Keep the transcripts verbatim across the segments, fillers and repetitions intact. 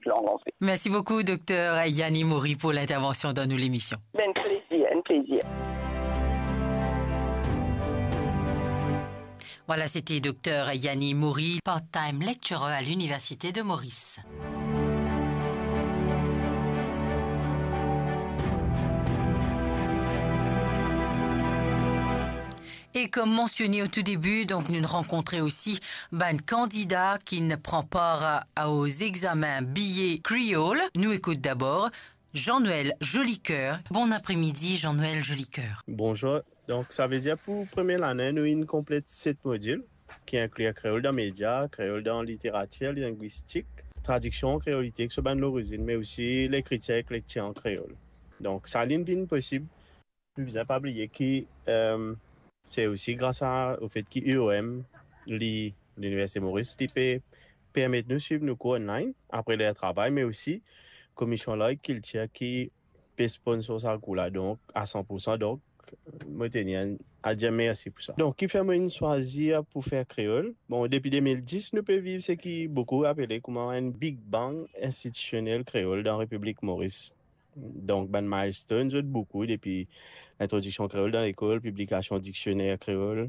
lang anfet. Merci beaucoup, Docteur Yanni Maury, pour l'intervention dans nos émissions. Ben, enn plezir, enn plezir. Voilà, c'était Docteur Yanni Maury, part-time lecturer à l'Université de Maurice. E kom mansione o tou debi, donk nou rankontre osi bann kandida ki pran par a, a, o zegzamin B A kreol. Nou ekout dabor Jean-Noël Jolicoeur. Bon apremidi, Jean-Noël Jolicoeur. Bonzour. Donk, savedir pou premie lane, nou inn konplet set modil, ki inkli kreol dan media, kreol dan literatir, lingwistik, tradiksion an kreolite ek so bann lorizinn, me osi lekritir ek lektir an kreol. Donk, sa linn vinn posib. Nou bizin pa bliye ki, eh, se osi gras a, o fet ki U O M, li, Liniversite Moris, li pe permet nou swiv nou kour online, apre ler travay, me osi Komisyon Lang ek Kiltir ki pe sponsor sa kour la, donk, a san pou san, donk, mo tenir a dir mersi pou sa. Donk, kifer mo inn swazir pou fer kreol? Bon, depi de mil dis, nou pe viv seki boukou apele kouma enn Big Bang institisionel kreol dan Repiblik Moris. Donk, bann milestone, zot boukou, depi lintrodiksion kreol dan lekol, piblikasion diksioner kreol,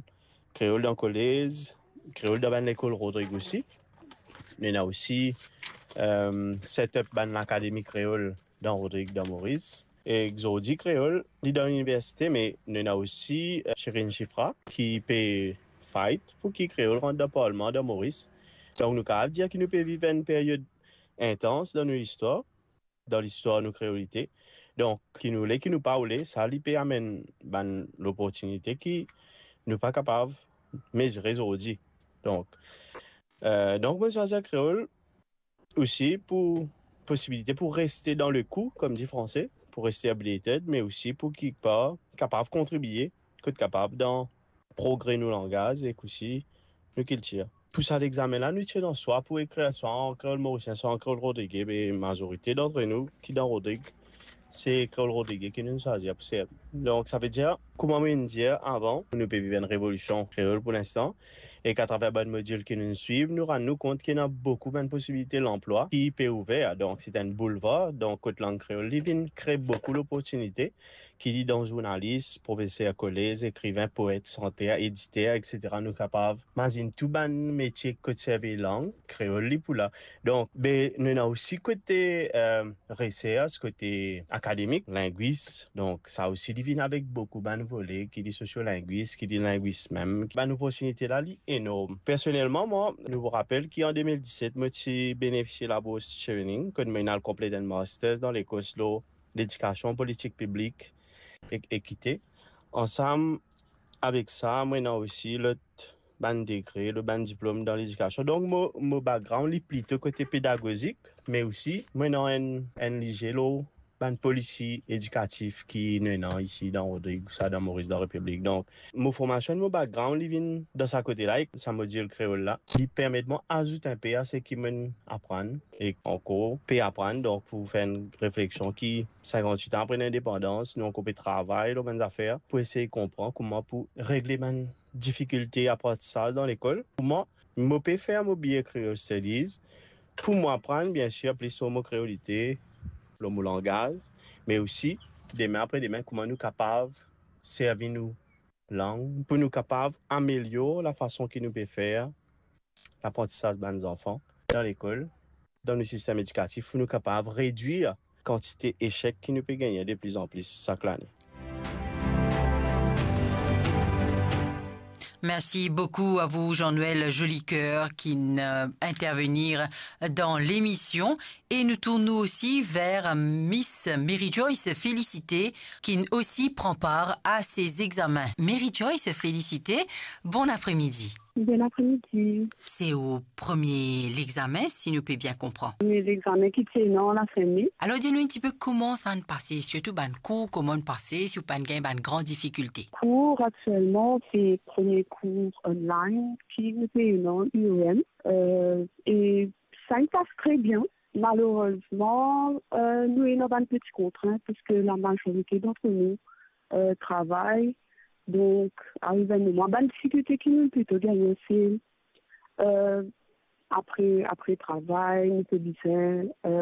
kreol dan kolez, kreol dan bann lekol Rodrig osi. Nou ena osi, eh, set up bann lakademi kreol dan Rodrig, dan Moris. E zordi kreol, li dan liniversite, me nou ena osi, eh, Shirin Shifra, ki pe fight pou ki kreol rant dan parlman, dan Moris. Donk, nou kapav dir ki nou pe viv enn peryod intans dan nou listwar, dan listwar nou kreolite. Donk, ki nou le, ki nou pa oule, sa li pe amenn bann loportinite ki nou pa kapav mezire zordi. Donk, eh, donk, mo swazir kreol osi pou posibilite pou reste dan le kou, kom di franse, pou reste updated, me osi pou kikpar kapav kontribie kot kapav dan progre nou langaz ek osi nou kiltir. Pou sa legzamin la, nou ti ena swa pou ekrir swa an kreol morisien, swa an kreol rodrige, me mazorite dantre nou ki dan Rodrig, se kreol rodrige ki nou swazir pou servi. Donk, savedir, kouma mo inn dir avan, nou pe viv enn revolision kreol pou linstan, ek atraver bann modil ki nou swiv, nou rann nou kont ki ena boukou bann posibilite lanplwa ki pe ouver. Donk, se enn boulvar. Donk, kot lang kreol, li vinn kre boukou loportinite, ki li dan zournalis, profeser kolez, ekriven, poet, santer, editer, et cetera. Nou kapav mazinn tou bann metie kot servi lang kreol li pou la. Donk, be, nou ena osi kote, eh, resers, kote akademik, lingwis. Donk, sa osi, li vinn avek boukou bann vole, ki li sosiolingwis, ki li lingwis mem. Bann loportinite la, li enorm. Personelman, mwa, nou rapel ki an de mil diset, mo ti benefisie labours Chevening, kot mo inn al konplet enn masters dan Lekos lor ledikasion, politik piblik ek ekite. Ansam avek sa, mo ena osi lot bann degre, lot bann diplom dan ledikasion. Donk, mo, mo background, li plito kote pedagozik, me osi, mo ena enn, enn lizie lor bann polisi edikatif ki nou ena isi dan Rodrig, sa dan Moris, dan Repiblik. Donk, mo formasion, mo background, li vinn dan sa kote la, ek sa modil kreol la, li permet mwa azout inpe a seki mo'nn aprann, e ankor pe aprann. Donk, pou fer enn refleksion ki sinkant-wit an apre lindepandans, nou ankor pe travay lor bann zafer pou esey konpran kouma pou regle bann difikilte aprantisaz dan lekol. Pou mwa, mo pe fer mo B A Creole Studies pou mo aprann, biensir, plis lor mo kreolite, lor mo langaz, me osi, demin apre demin, kouma nou kapav servi nou lang, pou nou kapav amelior lafason ki nou pe fer laprantisaz bann zanfan dan lekol, dan nou sistem edikatif, pou nou kapav redwir kantite esek ki nou pe gagne de plis an plis sak lane. Merci beaucoup à vous, Jean-Noël Jolicoeur, qui, euh, intervenir dans l'émission. E nou tourn nou osi ver Miss Mary Joyce Félicité, ki osi pran par a se zegzamin. Mary Joyce Félicité, bon apremidi. Bon apremidi. Se ou premie legzamin, si nou pe bien konpran. Premie legzamin ki ti ena an lafin me. Alor, dir nou enn tipe kouma sa inn pase, sirtou bann kour, kouma inn pase, si ou pa'nn gagn bann gran difikilte. Kour, aktielman, se premie kour online ki nou pe ena U O M. Euh, e sa inn pas tre bien. Malerezman, euh, nou ena bann peti kontrint, piske lamazorite dantre nou, euh, travay. Donk, ariv enn moman, bann difikilte ki nou plito gagne, se, euh, apre, apre travay, nou pe bizin, euh,